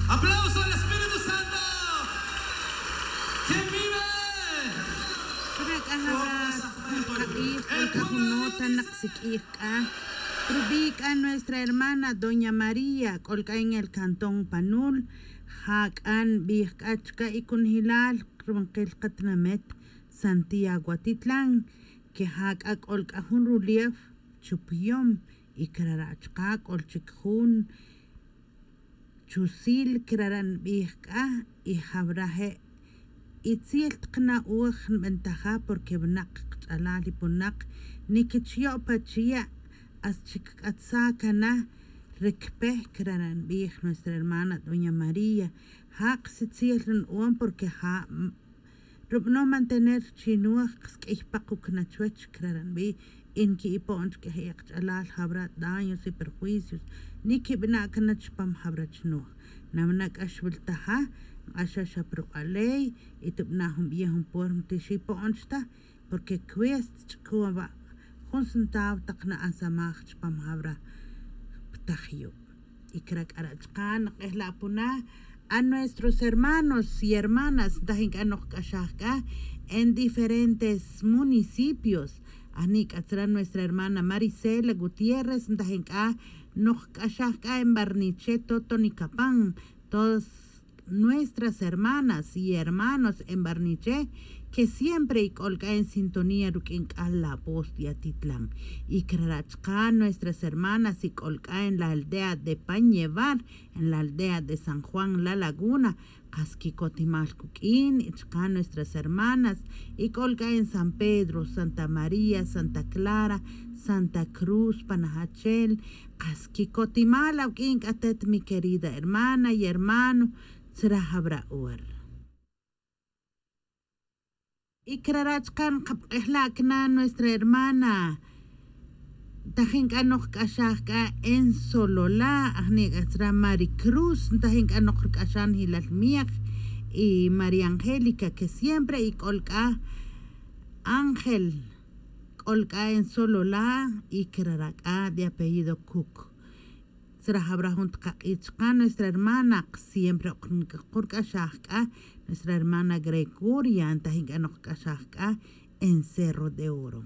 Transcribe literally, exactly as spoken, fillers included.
Aplauso al Espíritu Santo. ¿Quién vive? C'a jun q'ij k'olc'a jun nota nak siq'uij c'a rubi' c'a nuestra hermana doña María, c'olc'a en el cantón Panul. Ja c'a nbij c'a chica y cunjilal ronquil katinamet Santiago Atitlan, que ja c'a c'olc'a jun rulief chupiyom, y crara' chaka c'ol chic jun chusil crara' nbij c'a. Y jawra je' itzil tak na'oj nbentaja, porque winak kach'alal y punak niquichyo' pa chiya', hasta chic c'atsa cana. Ricpe crara' nbij nuestra hermana doña María. Ja kasitzil nbon, porque ja rubanom mantener chi noj, qas q'uiy pakuc na chuwech crara' nbij. Y nqui'ipo'n chic q'uiy kach'alal jawra daños y perjuicios niquibana' cana chupam jawra chi noj. Nawina c'a xwiltaja, nk'axa xa pa ruk'aley y tibana' jun biyej jun puerma ti xipo'n chi ta, porque cuesta ch'ucun awa' jun centavo tak na'ansamaj chupam jawra pa taj yu'. Y cra c'a ra' chaka' nk'ejla' puna a nuestros hermanos y hermanas ntajin c'a noj k'axaj c'a en diferentes municipios. Ajni' c'a tzra nuestra hermana Marisela Gutiérrez ntajin c'a noj k'axaj c'a en Barniche, Toto, Nicapan. Todas nuestras hermanas y hermanos en Barniche, que siempre y c'ol c'a en sintonía ruq'uin c'a la voz de Atitlan. Y cra ra' chaka' nuestras hermanas y c'ol c'a en la aldea de Pañevar, en la aldea de San Juan La Laguna, qas quicotimal cuq'uin y chaka' nuestras hermanas y c'ol c'a en San Pedro, Santa María, Santa Clara, Santa Cruz, Panajachel. Qas quicotimal awuq'uin c'a atet, mi querida hermana y hermano, tzra jawra ora. Y cra ra' chaka' nkapk'ejla' cana nuestra hermana ntajin c'a noj k'axaj c'a en Sololá. Ajni' c'a tzra Maricruz ntajin c'a noj ric'axan jilal miej, y María Angélica, que siempre y c'ol c'a Ángel, c'ol c'a en Sololá. Y cra ra' c'a de apellido Cuc. Tzra jawra jun tak ak'ij chaka' nuestra hermana, siempre ok rc'axaj c'a nuestra hermana Gregoria ntajin c'a noj k'axaj c'a en Cerro de Oro.